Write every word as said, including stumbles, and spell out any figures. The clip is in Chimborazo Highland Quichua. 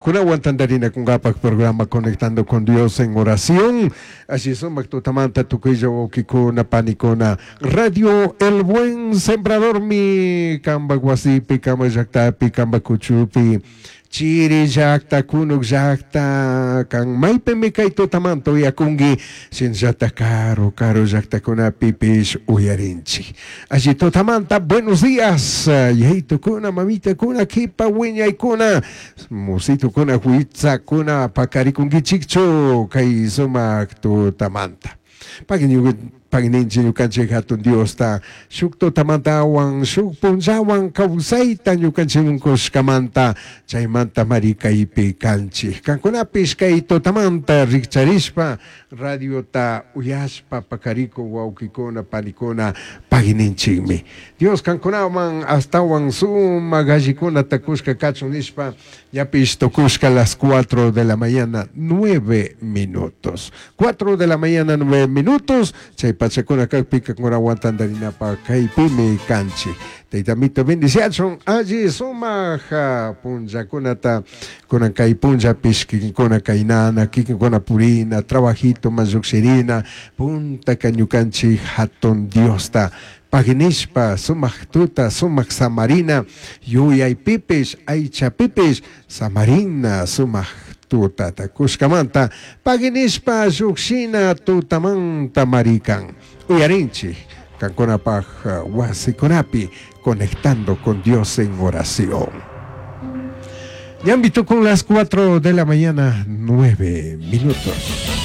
Kunawan tantarinakunkapaq programa Conectando con Dios en Oración. Alli sumak tutamanta tukuylla wawkikuna panikuna. Radio El Buen Sembradormi kampak wasipi, kampak llaktapi, kampak kuchupi. Chiri llakta, kunuk llakta, kan maypimi kay tutamanta uyakunki, shinallata karu, karu llaktakunapipish uyarinchik. Alli tutamanta, buenos días, yayitukuna, mamitakuna, kipa wiñaykuna, musitukuna, huitzakuna, pakarikunkichikchu kay sumak tutamanta. Pagui ñukanchik hatun Diosta shuk tutamantawan shuk punllawan kawsayta ñukanchik kushkamanta chaymanta mari kaypi kanchik kankunapish kay tutamanta rikcharishpa radiota uyashpa pakarikuk wawkikuna panikuna pagui Dios kankunawan astawan sumak allikunata kushka kachun nishpa ñapish tukushka las cuatro de la mañana nueve minutos cuatro de la mañana nueve minutos chay pachakuna kakpi kankunawan tantarinapaq kaypimi kanchik Taytamito bendiciachun alli sumak punllakunata kunan kay punllapish kikinkuna kaynana kikinkuna purina trabajito llukshirina puntaka ñukanchik hatun Diosta paginishpa sumak tuta sumak samarina yuyaypipish aychapipish samarina sumak tutata kushkamanta paginishpa llukshina tutamanta marikan uyarinchik kankunapaq wasikunapi conectando con Dios en oración. Ñambi con las cuatro de la mañana, nueve minutos.